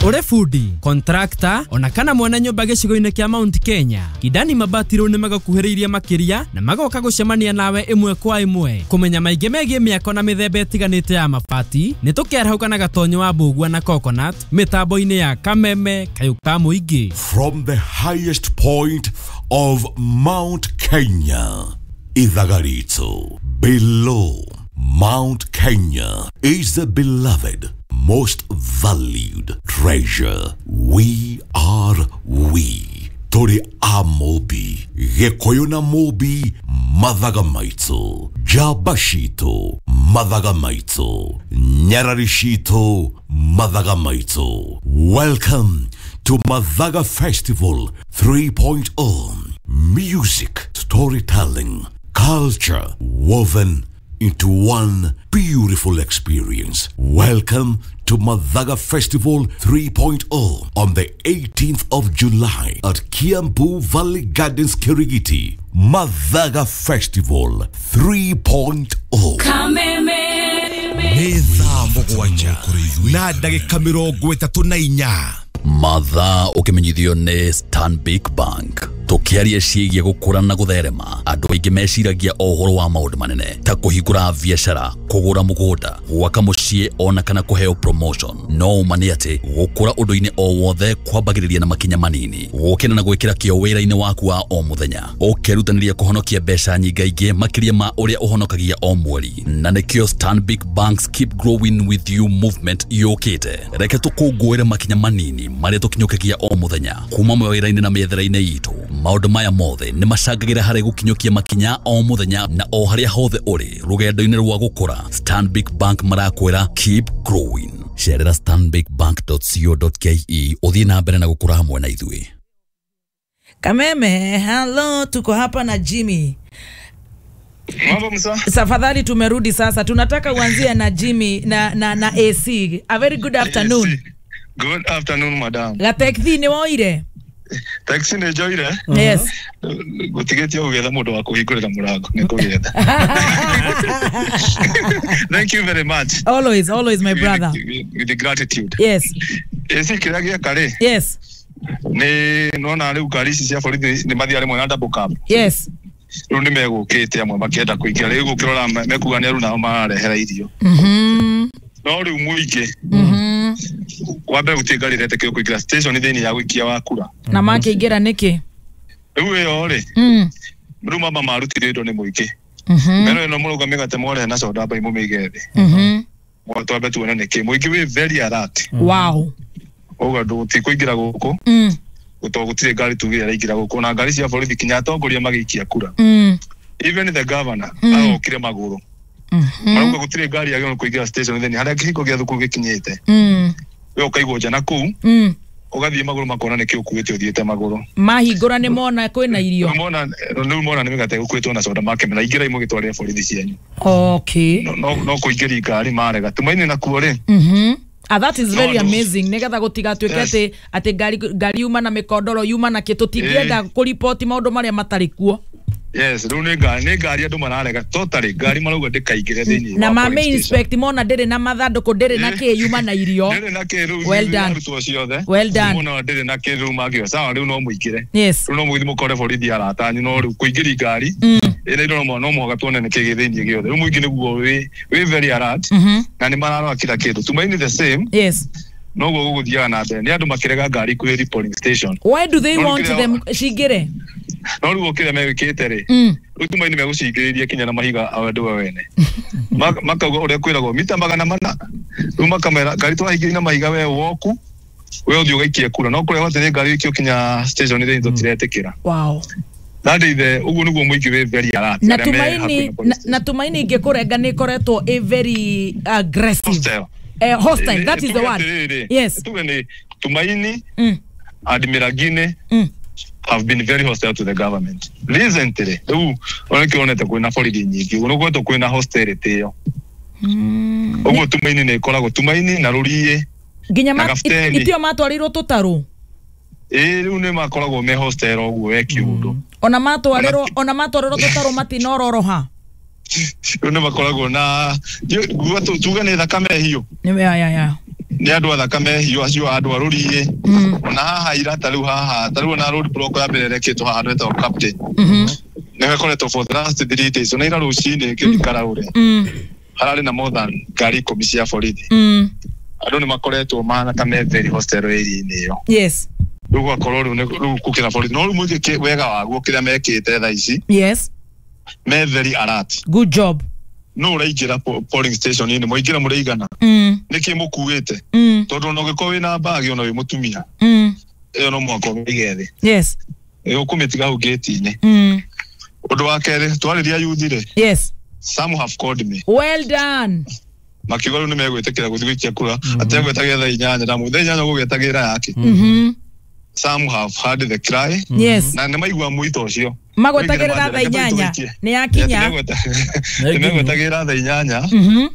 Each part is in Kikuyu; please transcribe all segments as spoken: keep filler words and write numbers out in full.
Ure fundi, contractor, ona kana mwana nyũmba gĩcigo-inĩ kĩa Mount Kenya. Kidani Mabati rĩu nĩmagũkuhĩrĩirie makĩria na magoka gũcemania nawe ĩmwe kwa ĩmwe. Kũmenya maingĩ megiĩ mĩako na mĩthemba ĩtiganĩte ya mabati, nĩ tũkĩarahũka na Gatonyo wa Mbũgua na Coconut mĩtambo-inĩ ya Kameme Kayũ ka Mũingĩ. From the highest point of Mount Kenya, Ithagarito, below Mount Kenya is the beloved, most valued treasure. We are we. Tori a Mobi, Gĩkũyũ na Mobi, Mathaga maitũ, Njamba citũ, Mathaga maitũ, Nyarari citũ, Mathaga maitũ. Welcome to Mathaga Festival 3.0. Music, storytelling, culture woven into one beautiful experience. Welcome to Mathaga Festival 3.0 on the eighteenth of July at Kiambu Valley Gardens, Kirigiti. Mathaga Festival 3.0. Kameme. Nĩ thaa mũgwanja na ndagĩka mĩrongo ĩtatũ na inya. Mathaa ũkĩmenyithio nĩ Stanbic Bank. Tũkĩaria ciĩgiĩ gũkũra na gũtherema, andũ aingĩ meciragia o ũhoro wa maũndũ manene ta kũhingũra biacara, kũgũra mũgũnda, gwaka mũciĩ ona kana kũheo promotion. No ũma nĩ atĩ gũkũra ũndũ-inĩ o wothe kwambagĩrĩria na makinya manini, gũkĩra na gwĩkĩra kĩo wĩra-inĩ waku wa o mũthenya, ũkerutanĩria kũhonokia mbeca nyingaingĩ makĩria ma ũrĩa ũhonokagia o mweri. Na nĩkĩo Stanbic Bank's Keep Growing With You movement yũkĩte. Reke tũkũngũĩre makinya manini marĩa tũkinyũkagia o mũthenya kuma mawĩra-inĩ na mĩethere-inĩ itũ. Maũndũ maya mothe nĩ macangagĩra harĩ gũkinyũkia makinya o mũthenya na o harĩa hothe ũrĩ rũgendo-inĩ rwa gũkũra. Stanbic Bank marakwĩra keep growing. Cerera stanbicbank dot co dot K E ũthiĩ na mbere na gũkũra hamwe na ithuĩ. Kameme, hello, tuko hapa na Jimmy. Mambo msa. Tafadhali tumerudi sasa. Tunataka uanzie na Jimmy na, na, na A C. A very good afternoon. Good afternoon, madam. Gatekthi nĩ woire? Taxi nĩ njoire. Yes. Gũtigĩtie gũgĩetha mũndũ wa kũhingũrĩra mũrango nĩ kũgĩetha. Thank you very much. Always, always, my brother. With, with the gratitude. Yes. A C kĩrĩa gĩeka rĩ Yes. nĩ nona rĩu ngari ici cia borithi nĩ mathiaga rĩmwe na double cab. Yes. Rĩu nĩ megũkĩte amwe makĩenda kũingĩra rĩu gũkĩrora mekuga nĩ aruna nao mararehera irio. Mhm. No rĩu mũingĩ Mhm. wa mbere gũtirĩ ngari ĩretĩkĩrio kũingĩra station thĩinĩ ya gũikia wa kura. Na makĩingĩra nĩkĩ? Rĩu ĩyo rĩ Mm. rĩu mamba marutire indo nĩ mũingĩ. Mhm. Meno ĩno mũrauga mĩgate mwarehe na soda mbai mũmĩige thĩ. Mhm. Twambe tuone nĩkĩ mũingĩ wĩ very alert. Wow. Ũguo andũ tikũingĩra gũkũ Mm. tondũ gũtirĩ ngari tugire ĩraingĩra gũkũ na ngari cia borithi kinya atongoria magĩikia kura. Mm. Even the governor Mm. arokire magũrũ. Mhm. Marauga gũtirĩ ngari yagĩrĩirwo kũingĩra station thĩinĩ harĩa kĩhingo gĩa thukuru gĩkinyĩte. Mm. We ũkaigwo nja na kũu Mm. ũgathiĩ magũrũ makona nĩkĩ ũkuĩte ũthiĩte magũrũ. Mahingũra nĩ mona kwĩna irio. Rĩu mona rĩu mona nĩ mĩgate ĩgũkuĩtwo na soda makemera ingĩrai mũgĩtwarĩre borithi cianyu. Okay. No no no kũingĩria ngari marega. Tumaini nakuo rĩ Mhm. Ah, that is very No, no. amazing nigetha gũtigatuĩke Yes. atĩ atĩ ngari ngari yuma na mĩkondoro yuma na kĩ tũtingĩenda kũriboti maũndũ marĩa matarĩ kuo. Yes, rĩu nĩ ngari nĩ ngari andũ mararega totally ngari marauga ndĩkaingĩre thĩinĩ Na wa mame police station. inspect mona ndĩrĩ na mathandũkũ ndĩrĩ na kĩ yuma na irio. Ndĩrĩ na kĩ rĩu Well done. arutwo ciothe. Well done. Mona ndĩrĩ na kĩ rĩu mangĩoya sawa rĩu no mũingĩre. Yes. Rĩu no mũgĩthiĩ mũkore borithi arata anyu no rĩu kũingĩria ngari Mm. ĩna indo no no mũhaka tuone nĩ kĩ gĩ thĩinĩ gĩothe. Rĩu mũingĩ nĩguo wĩ wĩ very alert Mhm. na nĩ mararora kila kĩndũ. Tumaini the same Yes. noguo gũgũthiaga na mbere nĩ andũ makĩrega ngari kwĩ polling station. Why do they No, want kĩrĩa- them cingĩre? No rĩu kĩrĩa megĩkĩte rĩ Mm. rĩu Tumaini megũcingĩrĩria kinya na mahiga andũ we wene. Ma- makauga ũrĩa kwĩragwo mita magana mana rĩu makamera ngari twahingĩria na mahiga we woku we ũthiĩ ũgaikie kura no kũrĩa hothe nĩ ngari ĩikio kinya station thĩinĩ tũtiretĩkĩra. Wow. That is the ũguo nĩguo mũingĩ wĩ very alert Na arĩa me hakuhĩ Tumaini na police na, na Tumaini ingĩkũrenga nĩ ĩkoretwo ĩ very aggressive. Hostile. Eh, hostile, that is the Tuge word. atĩrĩrĩ, Yes. tuge nĩ Tumaini Mm. and Miragine Mm. have been very hostile to the government recently. Rĩu ona kĩonete kwĩna borithi nyingĩ ũguo nĩgũkoretwo kwĩna hostility ĩyo ũguo Tumaini nĩ ĩkoragwo Tumaini na Rũriĩ Nginya na ma, Gabuteni. itio matwarirwo tũtarũ. Ĩĩ rĩu nĩ makoragwo me hostile ũguo we kiũndũ. Ona matwarirwo ona matwarirwo tũtarũ matinororoha. Rĩu nĩ makoragwo na nguga tuge nĩ thakame hiũ. Nĩ ya ya ya. Nĩ andũ a thakame hiũ acio andũ a rũriĩ. Ona haha ira ta rĩu haha ta rĩu ona road block ya mbere ĩrekĩtwo haha handũ hetagwo Captain. Nĩho ĩkoretwo for the last three days. Ona ira rũcinĩ ngĩthiĩ Karaũre hararĩ na more than ngari ikũmi cia borithi. Andũ nĩ makoretwo mahana ta me very hostile area-inĩ ĩyo. Yes. Rĩu gũgakorwo rĩu nĩ- rĩu gũkĩra borithi no rĩu mũingĩ wega waguo kĩrĩa mekĩte thaa ici Yes. me very alert. Good job. No ũraingĩra po- polling station inĩ mwaingĩra mũrĩigana Mm. nĩkĩ mũkuĩte Mm. tondũ ona ũngĩkorwo wĩna mbagi ona wĩ mũtumia Mm. ĩyo no mũhaka ũmĩige thĩ. Yes. Ĩ, ũkũmĩtiga hau gate-inĩ. Mm. Ũndũ wa kerĩ twarĩria youth rĩ, Yes. some have called me Well done. makiuga rĩu nĩmegwĩtĩkĩra gũthiĩ gũikia kura atĩ egwĩtagĩra thaa inyanya ndamũ thaa inyanya ũgũgĩetagĩra yake. Mhm. Some have heard the cry Yes. na nĩmaigua mwito ũcio. Magwetagĩrĩra thaa inyanya nĩ yakinya. Nĩmegwetagĩra thaa inyanya Mhm.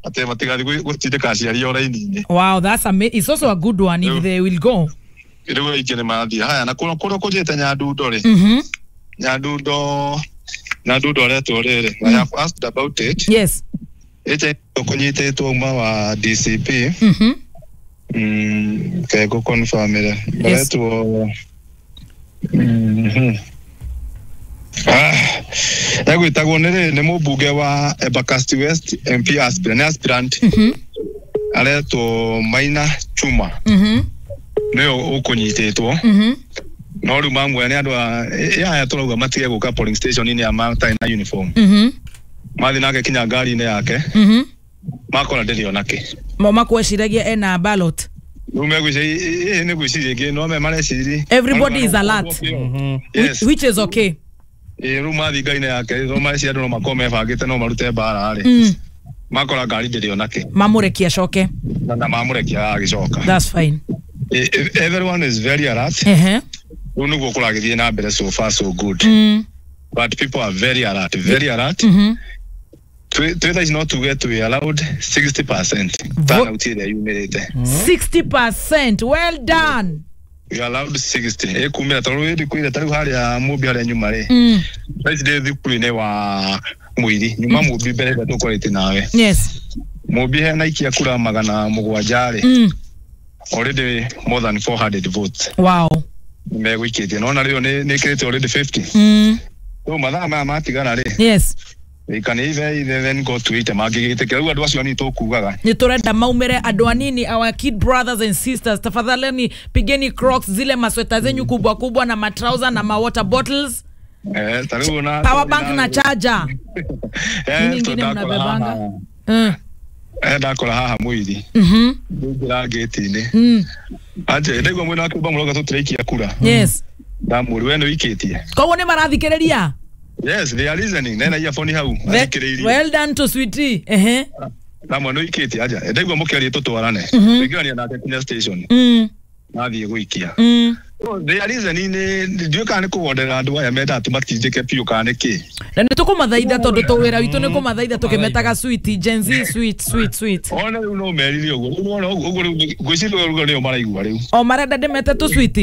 atĩ matigathiĩ gũtindĩka aciari o raini-inĩ. Wow, that's amazing. It's also a good one if they will go. Rĩu aingĩ nĩ mathiĩ haya na kũrĩa kũrĩa kũnjĩte Nyandundo rĩ, Mhm. Nyandundo Nyandundo aretwo rĩrĩ, I have asked about it. Yes. Agent ũkũnyitĩtwo uma wa D C P. Mhm. Mm, ke ngũconfirmĩre. Yes. Aretwo mhm. Ah, egwĩtagwo nĩ rĩ nĩ mũmbunge wa Embakasi West M P aspirant, nĩ aspirant. Mhm. Aretwo Maina Chuma. Mhm. Nĩwe ũkũnyitĩtwo. Mhm. No rĩu mamwe nĩ andũ a ĩ aya tũrauga matige gũka polling station inĩ ya matarĩ na uniform. Mhm. Mathiĩ nake kinya ngari-inĩ yake. Mhm. Makora ndĩrĩ onake. Mo makweciragia ena ballot. Rĩu megwĩciria nĩ gwĩciria ĩngĩ no me mareciria. Everybody is alert. Yes. Which, which is okay. Ĩ rĩu mathiĩ ngari-inĩ yake no mareciria andũ no makorwo mebangĩte no marute mbara rĩ. Mm. Makora ngari ndĩrĩ onake. Mamũrekia acoke. Na na mamũrekia agĩcoka. That's fine. Everyone is very alert. Ehe. Rĩu nĩguo kũragĩthiĩ na mbere so far so good. Mm. But people are very alert, very alert. Mhm. Twĩ thaa ici no tuge twĩ allowed sixty percent turnout ĩrĩa yumĩrĩte. sixty percent. Well done. We are allowed sixty. Ĩkumĩra tondũ rĩu kwĩra ta rĩu harĩa Mũmbi harĩa nyuma rĩ. Mm. Thaa ici ndĩ thukuru-inĩ wa Mũiri nyuma Mũmbi mbere ĩrĩa tũkoretwo nawe. Yes. Mũmbi hena ikia kura magana mũgwanja rĩ. Mm. Already more than four hundred votes. Wow. Megũikĩtie. Nona rĩu nĩ nĩkĩrĩte already fifty. Mm. Rĩu mathaa maya matigara rĩ. Yes. They can either either then go to it mangĩgĩtĩkĩra rĩu andũ acio anini tũkugaga. Nĩ tũrenda maumĩre andũ anini, our kid brothers and sisters, tafadhaleni pigeni crocs zile masweta zenyu kubwa kubwa na matrauza na ma water bottles. Eh, ta rĩu na power bank na charger. Eh, Nini ingine mnabebanga? Mm. Eh, ndakora haha Mũiri. Mhm. Ndingĩra gate-inĩ. Mm. Anje ndaigua mwena wa Kĩũmba mũrauga tũtiraikia kura. Yes. Ndamũri we nĩ wĩikĩtie. Koguo nĩ marathikĩrĩria? Yes, they are listening. Nena earphone hau. Athikĩrĩirie. Well done to sweetie. Ehe. Ndamwe nĩ wĩikĩtie aja. Ndaigua mũkĩaria tũtwarane. Tũingĩrania nake kinya station. Mm. Nathiĩ gũikia. Mm. They are listening nĩ ndiũĩ kana nĩ kũgonderera andũ aya mendaga tũmatindĩke biũ kana nĩ kĩ. Na nĩ tũkũmathaitha tondũ tũ wĩra witũ nĩ kũmathaitha tũkĩmetaga sweet Gen Z sweet sweet sweet. Ona rĩu no merire ũguo. Rĩu wona ũguo rĩu ngwĩciria ũguo nĩo maraigua rĩu. O marenda ndĩmete tũ sweet.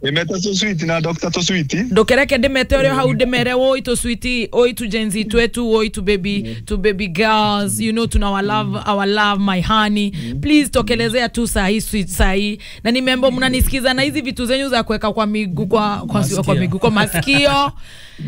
Ndĩmete tũ sweet na Doctor tũ sweet. Ndũkereke ndĩmete ũrĩa hau ndĩmere woi tũ sweet, oi tu Gen Z twetu, oi tu baby, tu baby girls, you know tuna our love, our love my honey. Please tokelezea tu saa hii sweet saa hii. Na nimeambiwa mnanisikiza na hizi vitu zenyu za kuweka kwa miguu kwa kwa kwa miguu kwa masikio.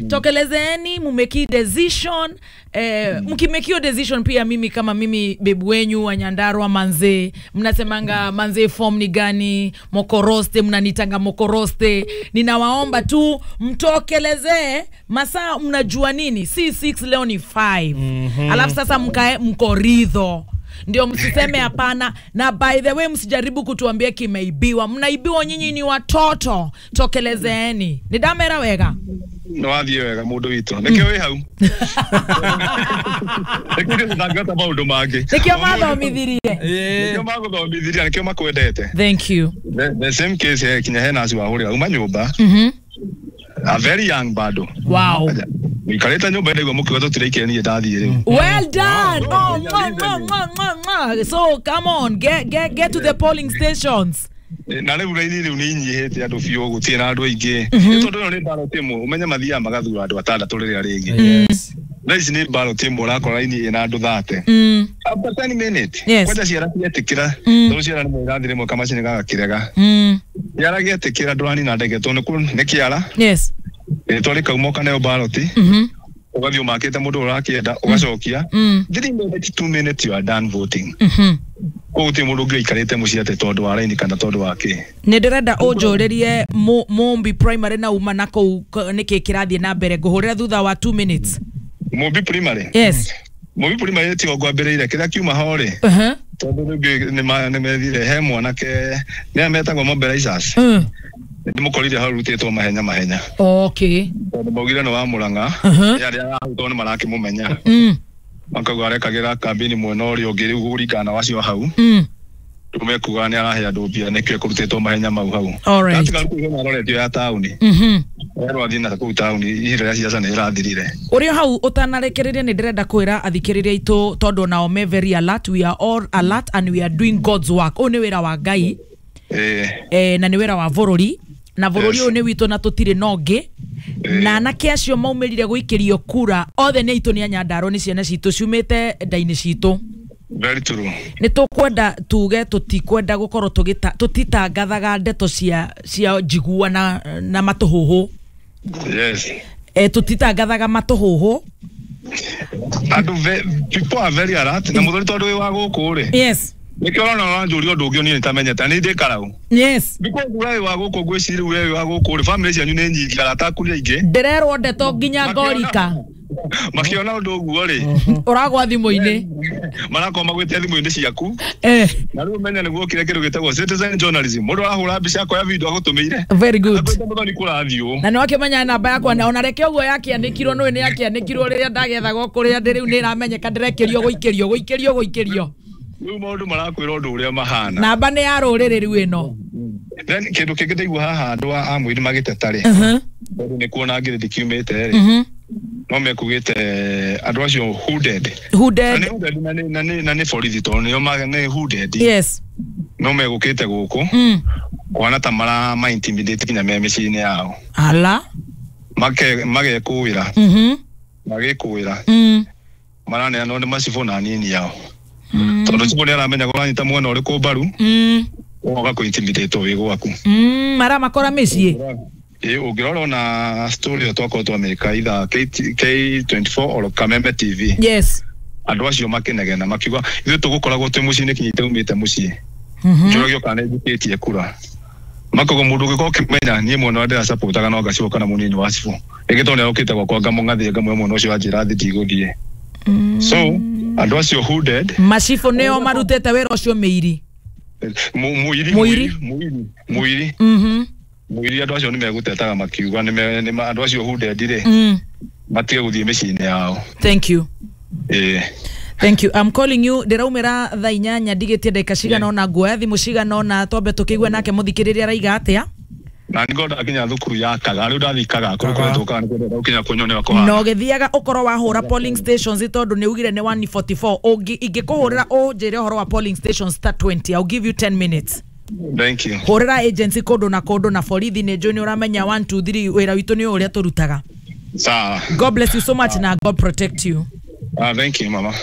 Tokelezeeni mumeki decision, eh, mkimekio decision pia mimi kama mimi bebu wenyu wa Nyandarua manze, mnasemanga manze form ni gani, mokoroste, mnanitanga mokoroste. Ninawaomba tu mtokelezee masaa mnajua nini, si six leo ni five. Mm-hmm. Alafu sasa mkae mkoridho. Ndio msiseme hapana. Na by the way msijaribu kutuambia kimeibiwa. Mnaibiwa nyinyi ni watoto. Tokelezeeni. Ni damera wega. No wathiĩ wega mũndũ witũ. Nĩkĩo wĩ hau. Nĩkĩo ndangĩhota maũndũ mangĩ. Nĩkĩo mathomithirie. Nĩkĩo magũthomithirie, nĩkĩo makwendete. Thank you. The, the same case eh, kinya hena acio wahũrĩra uma nyũmba. Mhm. A very young bado. Wow. Wikarĩte nyũmba ndaigua mũkiuga tũtiraikire niĩ ndathiĩ rĩu. Well done. Oh, mwah, mwah, mwah, mwah, mwah. So come on, get get get to the polling stations. Na rĩu raini rĩu nĩ inyihĩte andũ biũ gũtirĩ na andũ aingĩ. Nĩ tondũ ĩno nĩ ballot ĩmwe ũmenye mathiaga magathura andũ atandatũ rĩrĩa rĩngĩ. Yes. Thaa ici nĩ ballot ĩmwe ũrakora raini ĩna andũ thate. Mm. After ten minutes. Yes. Kwanja ciana cietĩkĩra Mm. tondũ ciana nĩ irathi rĩmwe kamacini gagakĩrega. Mm. Kĩara gĩetĩkĩra ndũranina ndege tondũ nĩ kũ- nĩ kĩara Yes. rĩtwa rĩkauma ũkaneo ballot Mhm. ũgathiĩ ũmakĩte mũndũ ũrĩa ũrakĩenda ũgacokia. Mm. Three minutes, two minutes you are done voting. Mhm. Koguo gũtirĩ mũndũ ũngĩ ũikarĩte mũciĩ atĩ tondũ wa raini kana tondũ wa kĩ. Nĩ ndĩrenda ũnjũrĩrie Mu- Mumbi primary na uma na kũu k- nĩkĩ kĩrathiĩ na mbere ngũhũrĩra thutha wa two minutes. Mumbi primary. Yes. Mumbi primary tigo ngwambĩrĩire kĩrĩa kiuma ho rĩ Uh-huh. tondũ rĩngĩ nĩma- nĩmethire he mwanake nĩa metagwo mobilizers Mm. nĩmũkorire hau rutĩtwo mahenya mahenya Okay. tondũ maugire nĩ wa Mũrang'a Uh-huh. arĩa arahutwo nĩ marakĩmũmenya Mm. makauga arekagĩra kambĩini mwena ũrĩa ũngĩ rĩu kũringana na wacio hau Mm. rĩu mekuga nĩ arahe andũ mbia nĩkĩo ekũrutĩtwo mahenya mau hau. All right. Gatiga rĩu kwĩna aroretio ya taũni Mhm. erwo athiĩ na kũu taũni ihinda rĩa ciaca nĩ rĩrathirire. Ũrĩ hau ũtanarekereria nĩ ndĩrenda kwĩra athikĩrĩria aitũ tondũ onao me very alert, we are all alert and we are doing God's work. Ũyũ nĩ wĩra wa Ngai Ĩĩ. eh, na nĩ wĩra wa bũrũri na bũrũri Yes. ũyũ nĩ witũ na tũtirĩ na ũngĩ na anake acio maumĩrire gũikĩrio kura othe nĩ aitũ nĩ anyandarũ nĩ ciana citũ ciumĩte nda-inĩ citũ. Very true. Nĩ tũkwenda tuge tũtikwenda gũkorwo tũgĩta tũtitangathaga ndeto cia cia njigua na, na matũhũhũ. Yes. E, tũtitangathaga matũhũhũ. Andũ ve- people are very alert na mũthoni tondũ wĩ wa gũkũ rĩ Yes. nĩkĩo ũrona ũranjũria ũndũ ũngĩ niĩ nĩtamenyete nĩ ndĩ karau. Yes. Because we wĩ wa gũkũ ngwĩciria we wĩ wa gũkũ rĩ family cianyu nĩ nyingĩ arata aku nĩ aingĩ. Ndĩrerwo ndeto nginya ngorika Makĩona ũndũ ũguo rĩ ũragwa thimũ-inĩ marakorwo magwĩte thimũ-inĩ ciaku eh, na rĩu ũmenye nĩguo kĩrĩa kĩndũ gĩtagwo citizen journalism mũndũ arahũra mbica akoya video agũtũmĩire very good. akwĩte mũthoni kũrathiĩ ũũ. Na nĩ wakĩmenya namba yakwa na ona reke ũguo yakĩanĩkirwo nĩ nĩ yakĩanĩkirwo rĩrĩa ndagethagwo kũrĩa ndĩ rĩu nĩ ĩramenyeka ndĩrekĩrio gũikĩrio gũikĩrio gũikĩrio. Rĩu maũndũ marakwĩra ũndũ ũrĩa mahana. Namba nĩ ya rũrĩrĩ rĩu ĩno. Then kĩndũ kĩngĩ ndaigua haha andũ a amũiri magĩteta rĩ Mhm. tondũ nĩ kuona ngirĩndi kiumĩte rĩ Mhm. no mekugĩte andũ acio hooded. Hooded. Na nĩ hooded na nĩ- na nĩ na nĩ borithi tondũ nĩo ma- nĩ hooded. Yes. No megũkĩte gũkũ Mm. kuona ta mara ma intimidate nginya me mĩciĩ-inĩ yao Ala. Make magekũĩra Mhm. magĩkũĩra Mm. maraneanwo nĩ macibũ na nini yao tondũ cibũ nĩ aramenya ũranyita mwena ũrĩkũ mbaru Mm. ũgoka kũ intimidate wĩ gwaku. Mm. Maramakora mĩciĩ. Ĩ ũngĩrora ona story ĩyo twakorwo twamĩka either K twenty-four or Kameme T V. Yes. Andũ acio makĩnegena makiuga ithuĩ tũgũkoragwo twĩ mũciĩ nĩ kinyĩte umĩte mũciĩ Mhm. njũragio kana nĩ njĩkĩtie kura makogo mũndũ ũngĩkorwo ũkĩmenya niĩ mwena ũrĩa ndĩracapotaga no ngacibũ kana mũnini wa cibũ rĩngĩ tondũ nĩarokĩte gwakwa ngamũng'athie ngamwĩra mwena ũcio wanjĩra thiĩ ndigũthiĩ. So andũ acio hooded Macibũ nĩo marutĩte wĩra ũcio mĩiri. Mu- mũiri Mũiri. mũiri mũiri Mhm. mũiri andũ acio nĩmegũtetaga makiuga nĩme- nĩma- andũ acio hooded rĩ Mm. matige gũthiĩ mĩciĩ-inĩ yao. Thank you. Ĩĩ. Thank you. I'm calling you ndĩraumĩra thaa inyanya ndigĩtie ndagĩka cigana ũna nguoya thimũ cigana ũna twambe tũkĩigue nake mũthikĩrĩria araiga atĩa. Na nĩ ngorwo ndakinya thukuru ya Kaga rĩu ndathiĩ Kaga kũrĩa Kaga. kũretwo Kaga nĩkuo ndĩrenda gũkinya kunyonera kũhana. Na ũgĩthiaga ũkorwo wahũra polling stations tondũ nĩ ugire nĩ one forty-four ũngĩ ingĩkũhũrĩra ũnjĩre ũhoro wa polling stations ta twenty I'll give you ten minutes. Thank you. Hũrĩra agency kũndũ na kũndũ na borithi nĩ njũĩ nĩ ũramenya one two three wĩra witũ nĩ ũrĩa tũrutaga. Sawa. God bless you so much na God protect you. Ah, thank you mama.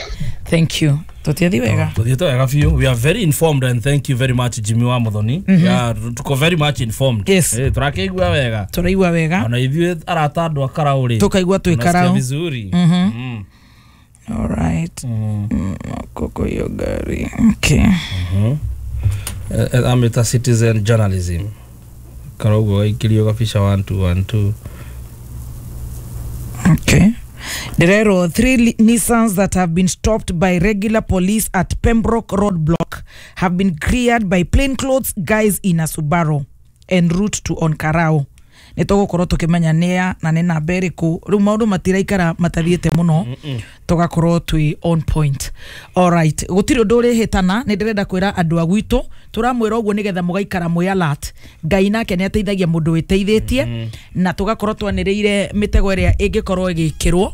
Thank you. Tũtiathi wega. Tuthiĩte wega biũ. We are very informed and thank you very much Jimmy wa Muthoni. Mm -hmm. Yeah, tuko very much informed. Yes. Eh, tũrakĩigua wega. Tũraigua wega. Ona ithuĩ arata andũ a Karau rĩ. Tũkaigua twĩ Tunasikia Karau. vizuri. Mm -hmm. All right. Mm. Mm, koko hiyo gari. Okay. Mm -hmm. uh, ameta citizen journalism. Karau gwaikĩrio gabica one two one two. Okay. There are three Nissans that have been stopped by regular police at Pembroke Roadblock have been cleared by plainclothes guys in a Subaru en route to Onkarau. Nĩ tũgũkorwo tũkĩmenya nĩa na nĩ namba ĩrĩkũ rĩu maũndũ matiraikara matathiĩte mũno tũgakorwo twĩ on point. Alright, gũtirĩ ũndũ ũrĩhĩtana nĩ ndĩrenda kwĩra andũ a gwitũ tũramwĩra ũguo nĩgetha mũgaikara mwĩ alert. Ngai nake nĩ ateithagia mũndũ wĩteithĩtie na tũgakorwo twanĩrĩire mĩtego ĩrĩa ĩngĩkorwo ĩgĩkĩrwo.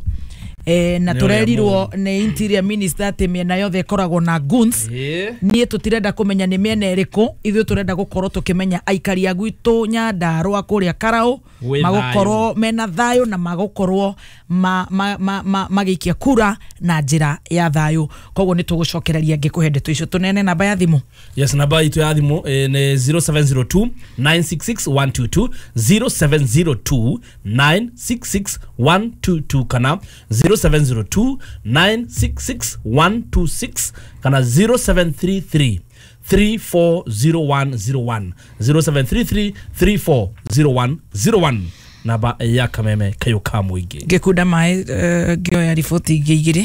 eh, na Nĩ ũrĩa tũrerirwo mũũru. nĩ interior minister atĩ mĩena yothe ĩkoragwo na goons. Ĩĩ. Niĩ tũtirenda kũmenya nĩ mĩena ĩrĩkũ, ithuĩ tũrenda gũkorwo tũkĩmenya aikari a gwitũ Nyandarũa kũrĩa Karaũ Gwĩ magũkorwo mena thayũ na magũkorwo ma, ma, ma, ma, magĩikia kura na njĩra ya thayũ. Koguo nĩ tũgũcokereria ngĩkũhe ndeto icio. Tũnene namba ya thimũ. Yes, namba itũ ya thimũ eh, nĩ zero seven zero two nine six six one two two, zero seven zero two nine six six one two two, kana zero seven zero two nine six six one two six, kana zero seven three three three four zero one zero one, zero seven three three three four zero one zero one, namba ya Kameme Kayo ka Mũingĩ. Ngĩkunda maĩ, eh, ngĩoya riboti ingĩ igĩrĩ.